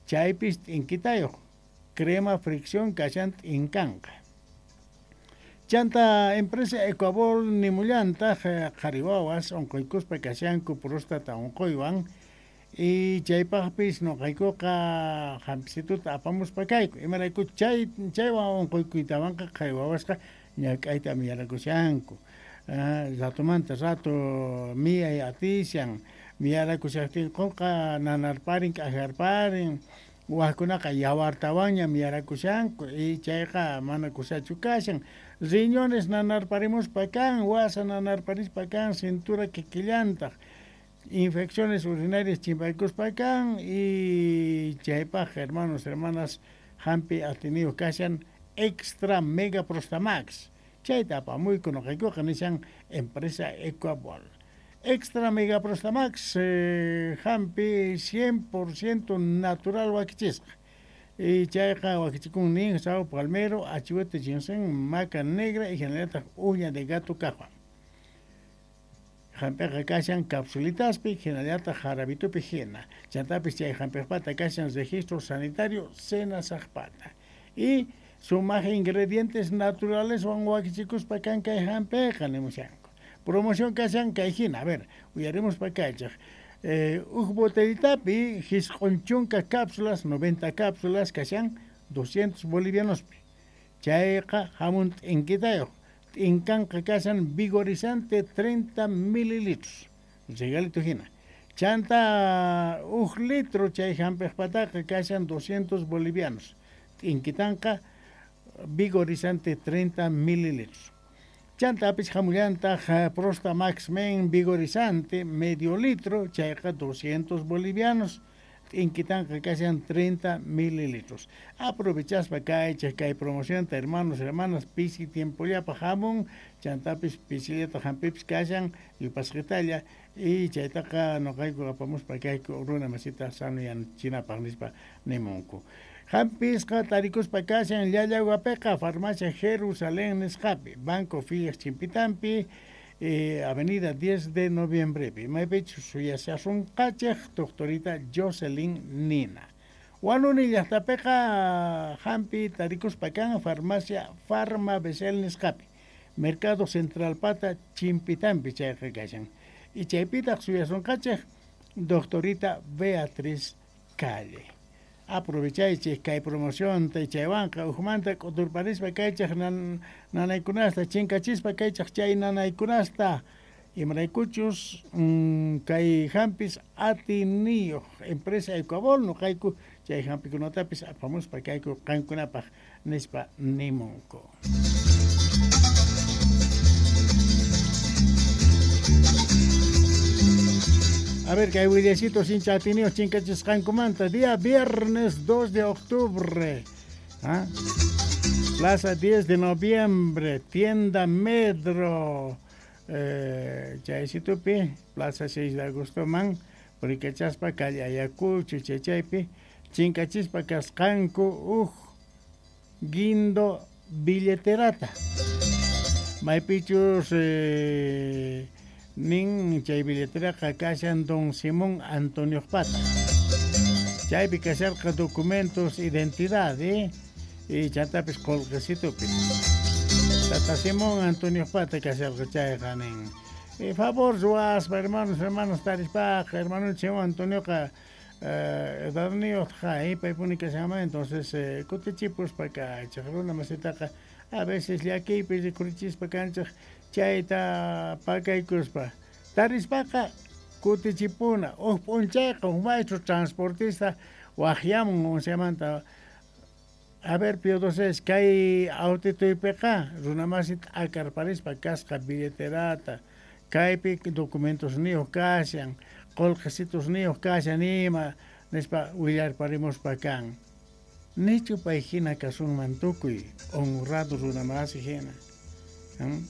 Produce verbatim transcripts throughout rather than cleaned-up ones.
Chaypis t'inkitayuq crema fricción kashan t'inkanqa. Chanta empresa Ecuabol nimullantaq qhari wawas unquykuspa kashanku próstata unquywan y chaypaqpis nuqaykuqa hampisituta apamuspa kayku imarayku chay chaywan unquykuytawanqa qhari wawasqa ñak'ayta miyarakushanku ratumanta rato miyay atishan miyarakushaqtinkuqa nanarparin k'ajarparin wajkunaqa yawartawanña miyarakushanku y chayqa mana kusachu kashan riñones nanarparimuspa kan wasa nanarparispa kan cintura kikillantaq infecciones urinarias chimpaykuspa kan y chaypaq hermanos hermanas hampi atiniyuq kashan extra mega prostamax chayta apamuyku nuqaykuqa nishan empresa Ecuabol. Extra Mega Prostamax eh, hampi cien por ciento natural wakichisqa y chayqa wakichikun nin sao palmero, achihuete ginseng, maca negra y generalta uña de gato kajwan. Hampiqa kashan capsulitaspi, generalta jarabitupi hina. Chantapis chay hampiqpata kashan registro sanitario senasaqpata. Y sumaj ingredientes naturales wan wakichikuspa kan kay hampiqa nimushanku. Promoción kashan kay hina, a ver, uyaremos pa kaychaq. Eh, uj botellitapi jisq'un chunka cápsulas, noventa cápsulas kashan doscientos bolivianospi. Chayqa hamun t'inkitayuq. T'inkanqa kashan vigorizante treinta mililitros. Regalito hina. Chanta uj litro chay hampiqpataqa kashan doscientos bolivianos. T'inkitanqa vigorizante treinta mililitros. Chantapis hamullantaq Prostamax Men vigorizante medio litro, chayqa doscientos bolivianos, t'inkitanqa kashan treinta mililitros. Aprovechaspa kaychaq kay promocionta, hermanos, hermanas, pisi tiempollapa hamun, chantapis pisillata hampipis kashan, yupasqitalla, y chaytaqa nuqayku apamuspa kayku runa masita sanuyanchinapaq nispa nimunku. Hampisqa tarikuspa kashan Llallawapiqa farmacia Jerusalén nisqapi, Banco Fias Chimpitampi, eh, Avenida diez de Noviembrepi. Maypichus suyashasunqachej doctorita Jocelyn Nina. Wanuni llaqtapiqa hampi tarikuspa kan farmacia Farma Besel nisqapi, Mercado Central pata Chimpitampi chayqa kashan. Y chaypitaq suyasunqachej doctorita Beatriz Calle. Aprovechaychej kay promoción ta chaywanqa ujmanta k'uturparispa kaychaj nan, nanaykunasta chinkachispa kaychaj chay nanaykunasta imaraykuchus mm, kay hampis atiniyuq empresa Ecuabol nuqayku chay hampikunatapis apamuspa kayku qankunapaq nispa nimunku. A ver, que hay willasitos sin atiniyuq chinkachisqankumanta. Día viernes dos de octubre. ¿Ah? Plaza diez de noviembre, tienda Medro. Eh, chaysitupi, Plaza seis de agosto man, Purikachaspa, calle Ayacucho, chaychaypi, chinkachispa kasqanku uj guindo billeterata. Maypichus eh, nin chay billeteraqa kashan don Simón Antonio Pata. Chaypi kasharqa documentos identidad, eh? Y chantapis qolqesitupis. Tata Simón Antonio Pata kasharqa chayqa nin. Eh, favor ruwaspa hermanos, hermanos tarispaqa, hermano Simón Antonioqa eh, edadniyuqqa, eh, paypuni kashanman, entonces eh, kutichipuspa kaychaq runa masitaqa a veces llakiypi rikurichispa kanchaq chayta pakaykuspa tarispaqa kutichipuna uj p'unchayqa uj maestro transportista waqyamun unciamanta a ver Pío doce kay autituypiqa runamasi t'akarparispa kasqa billeterata kaypi documentosniyuq kashan qolqesitusniyuq kashan ima nispa willarparimuspa kan nichu pay hina kasunman tukuy honrado runamasi hina. ¿Mm?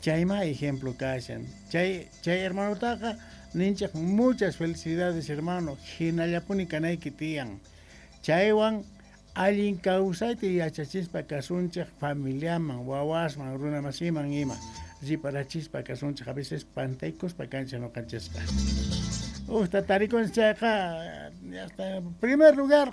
Chayma ejemplo kashan. Chay, chay hermanotaqa ninchaq muchas felicidades hermano hinallapuni kanayki tiyan. Chaywan allin kawsayta yachachispa kasunchaq familiaman, wawasman, runamasiman ima riparachispa kasunchaq a veces pantaykuspa kanchaq nuqanchisqa. Usta tarikun chayqa hasta primer lugar